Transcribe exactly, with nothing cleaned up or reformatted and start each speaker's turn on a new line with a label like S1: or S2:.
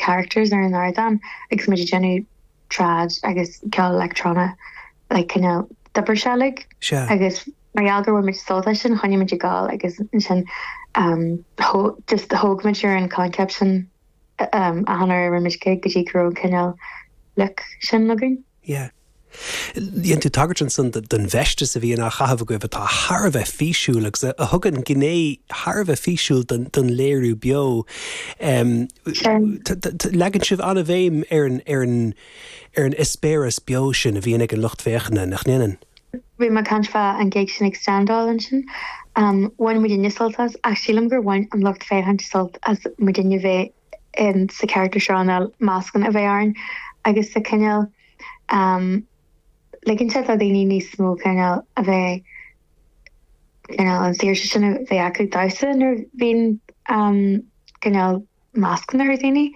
S1: characters ar an ardán agus muid ag déanamh trad agus ceol leictreonach like cineál d'oibrigh sé like agus mar gheall gur bhain muid sult as sin choinnigh muid ag gabháil agus ansin um, just thóg muid ar an concept sin um, achan uair a rinne muid gig go dtí go raibh cineál look sin againn.
S2: Yeah. Dhein tú tagairt ansan don bhfeisteas a bhíonn á chaitheamh agaibh atá thar a bheith físiúil agus a thugann gné thar a bheith físiúil don léiriú beo. Leagann sibh an-bhéim ar an ar an ar an eispéireas beo sin a bhíonn ag an lucht féachana nach ndéanann.
S1: Bhí mé ag caint fá an gig sin ag Standáil ansin. Um, bhain muidinne sult as ach sílim gur bhain an lucht féachana sult as muidinne bheith in sa character seo na mascanna a bheith orainn agus sa cineál um, ligeann sé do daoine níos mó cineál a bheith cineál an saoirse sin a bheith acu damhsa nuair bhíonn um, cineál mascanna ar daoine